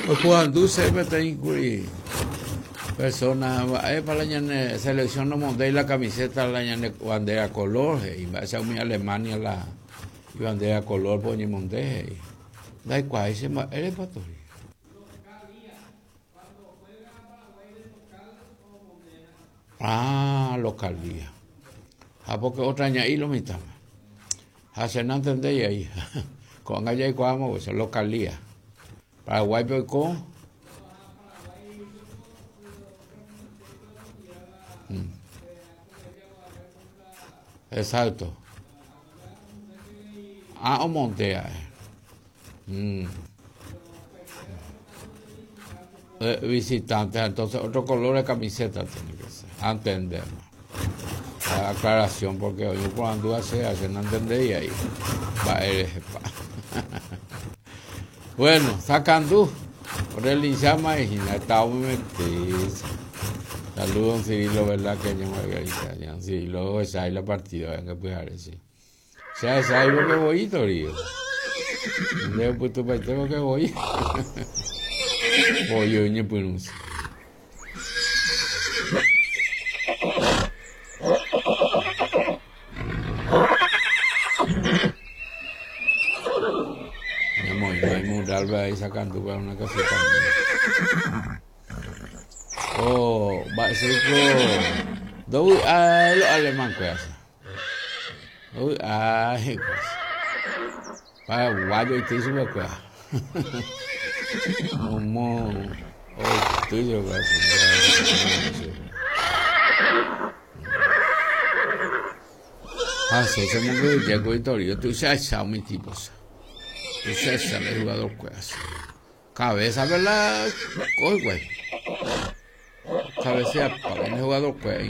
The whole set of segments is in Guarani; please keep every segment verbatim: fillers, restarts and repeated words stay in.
Oporandu peteĩ kuri persona mba'épa la ñane selección nomondéi la camiseta la ñane bandera color he'i mba'éicha umi Alemania la ibandera color po oñemonde he'i ndaikuaái che mba'érepa tori. Ah, localía. Ha porque otra ña'i lo mitãme. Ha che nantendéi aí. Ko'ág̃a jaikuaáma localía. Paraguáipe oiko. Mm. Exacto. Ah, omontea. Mm. Eh, visitante, entonces otro color de camiseta tiene que ser. Entendemos. La aclaración, porque hoy cuando hace, hace no entendía ahí. Va, Bueno, sacando por el llama y está muy metido. Saludos, don Cirilo, ¿verdad? Que yo Margarita. Don Cirilo, esa es la partida, venga, pues a ver, sí. O sea, esa es lo que voy, Torío. De pues tu tengo que voy. Voy yo, ñepyrũse. Ñamoĩ mural ahí sacando para una casita. Oh, mba'éiko ndovy'ái los alemán kuéra. Ndovy'ái hikuái. Paraguayo oity chupekuéra. Omo oity chupekuéra. Ha che chemongyhyje Torío tuicha umi tipos. Tuicha el jugador kuéra. Cabeza, ¿verdad? Coge, güey. Cabecea para el jugador kuéra.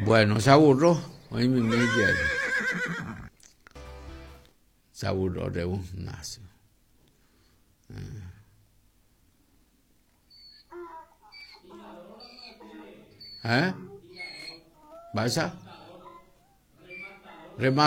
Bueno, se aburrió. Hoy mi ahí. Se aburrió de un nazo. ¿Eh? ¿Vas a? Remata.